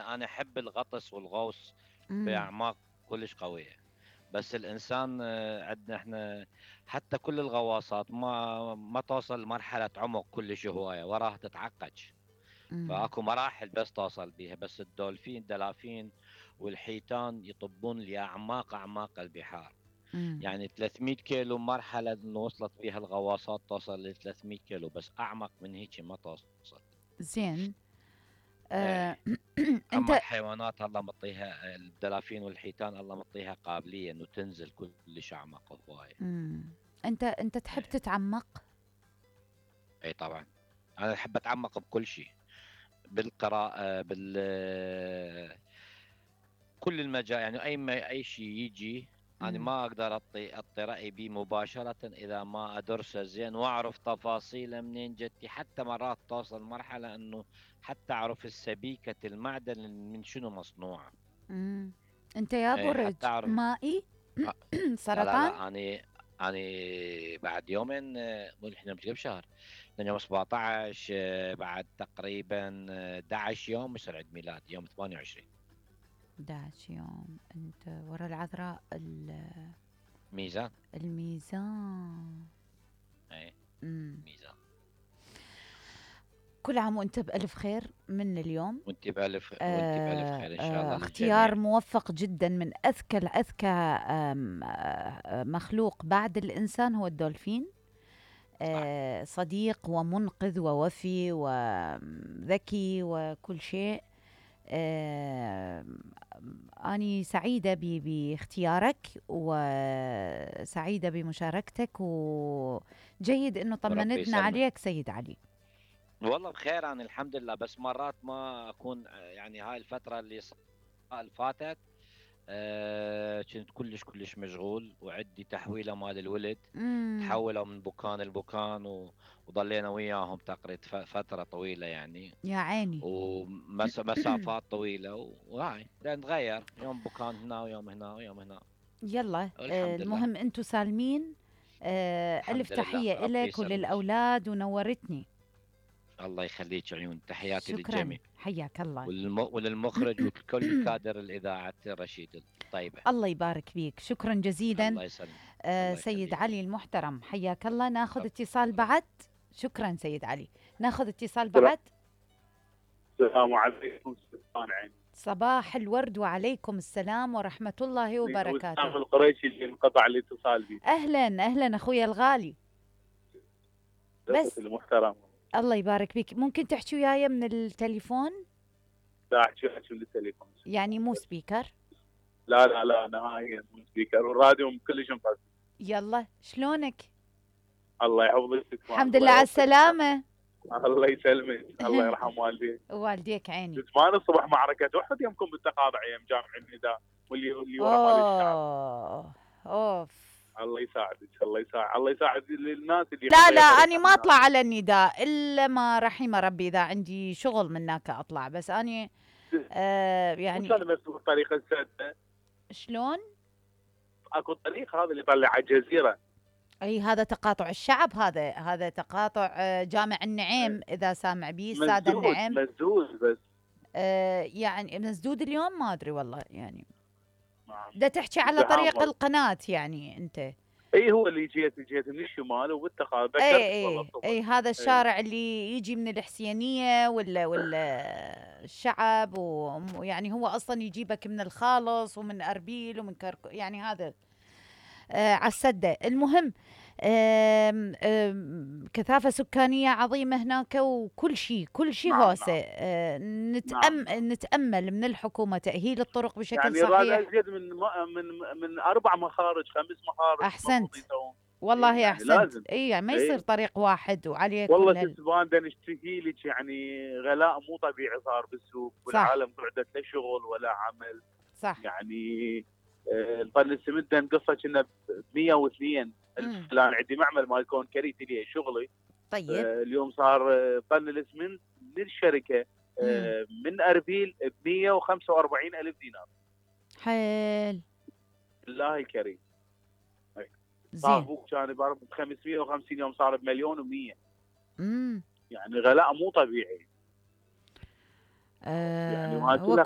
انا احب الغطس والغوص امم. باعماق كلش قويه. بس الانسان عندنا احنا حتى كل الغواصات ما توصل لمرحله عمق كلش هوايه، وراها تتعقد. امم. فاكو مراحل بس توصل بيها. بس الدلافين والحيتان يطبون لاعماق اعماق البحار. امم. يعني 300 كيلو مرحله انه وصلت فيها الغواصات توصل ل 300 كيلو، بس اعمق من هيك ما توصل. زين. آه. ايه. اما انت. الحيوانات الله مطيها، الدلافين والحيتان الله مطيها قابليه انه تنزل كلش اعمق هوايه. امم. انت تحب ايه. تتعمق؟ اي طبعا. انا احب اتعمق بكل شيء، بالقراءه، كل المجال. يعني اي شيء يجي انا امم. ما اقدر اعطي رايي به مباشره اذا ما ادرسه زين واعرف تفاصيله منين جتي. حتى مرات توصل مرحله انه حتى اعرف السبيكه المعدن من شنو مصنوعه. امم. انت يا ايه برج حتى اعرف. مائي؟ آه، لا لا سرطان؟ لا، اني بعد يومين، مو احنا مش قبل شهر، لأن يوم 17، بعد تقريبا 11 يوم يصير عيد ميلادي يوم 28. 11 يوم انت ورا العذراء ميزان. الميزان. ايه. امم. ميزان. كل عام وانت بألف خير من اليوم. وانت بألف خير ان شاء الله اختيار للجميع. موفق جدا. من أذكى مخلوق بعد الإنسان هو الدولفين. صح. صديق ومنقذ ووفي وذكي وكل شيء. أني سعيدة باختيارك وسعيدة بمشاركتك، وجيد أنه وربي طمنتنا يسلمك. عليك سيد علي. والله بخير انا الحمد لله. بس مرات ما اكون، يعني هاي الفترة اللي فاتت كنت كلش مشغول، وعندي تحويلة مال الولد. امم. تحولوا من بكان لبكان وضلينا وياهم تقريبا فترة طويلة يعني. يا عيني. ومسافات طويلة، وهاي نتغير يوم بكان هنا ويوم هنا ويوم هنا. يلا، والحمد لله. المهم انتوا سالمين. ألف الحمد لله تحية ربي إلك يسلمك. وللأولاد ونورتني. الله يخليك عيون، تحياتي شكرا، للجميع. حياك الله. وللمخرج وكل كادر الإذاعة رشيد الطيبة. الله يبارك فيك، شكرا جزيلا. الله يسلمك. الله سيد يخليك. علي المحترم، حياك الله. ناخذ رب. اتصال الله. بعد. شكرا سيد علي. ناخذ اتصال السلام بعد. السلام عليكم سلطان عين. صباح الورد وعليكم السلام ورحمة الله وبركاته. وسام القريشي اللي انقطع الاتصال بي. أهلا أهلا أخويا الغالي. بس المحترم. الله يبارك فيك، ممكن تحكي وياي من التليفون؟ لا احكي من التليفون. يعني مو سبيكر؟ لا نهائيا مو سبيكر، والراديو كلش مفضل. يلا، شلونك؟ الله يحفظك. الحمد لله على السلامة. الله يسلمك، الله يرحم والديك. والديك عيني. زمان الصبح معركة أحد يمكم بالتقاطع ايام جامع النداء، واللي ورا مال الشعب. اوف. الله يساعدك، الله يساعد الناس اللي لا أنا ما أطلع على النداء إلا ما رحم ربي، إذا عندي شغل من هناك أطلع. بس أنا يعني كان بس الطريقة السادسة. شلون؟ اكو طريق هذا اللي يطلع على الجزيرة. أي هذا تقاطع الشعب، هذا تقاطع جامع النعيم، إذا سامع بيه السادة النعيم. مسدود بس. يعني مسدود اليوم، ما أدري والله يعني. دا تحكي على طريق القناة يعني أنت؟ اي هو اللي جيت من الشمال وبالتقاطع. اي هذا الشارع اللي يجي من الحسينية ولا الشعب، ويعني هو اصلا يجيبك من الخالص ومن اربيل ومن يعني هذا على السدة. المهم كثافة سكانية عظيمة هناك، وكل شيء هوسة. نتأمل من الحكومة تأهيل الطرق بشكل يعني صحيح. يعني أزيد من 4 مخارج 5 مخارج. أحسنت والله، يعني أحسنت. يعني ما يصير طريق واحد وعليه والله تسبان دا نشتكي لك. يعني غلاء مو طبيعي صار بالسوق، والعالم قعدت لا شغل ولا عمل. صح. يعني طن السمنت نقصه كنا ب 102 الف فلان. عندي معمل مال كونكريت لي شغلي. طيب. اليوم صار طن الاسمنت من الشركه من اربيل ب 145 الف دينار. حيل الله الكريم. زين. كان ب 550 يوم صار بمليون و100. يعني غلاء مو طبيعي. يعني هو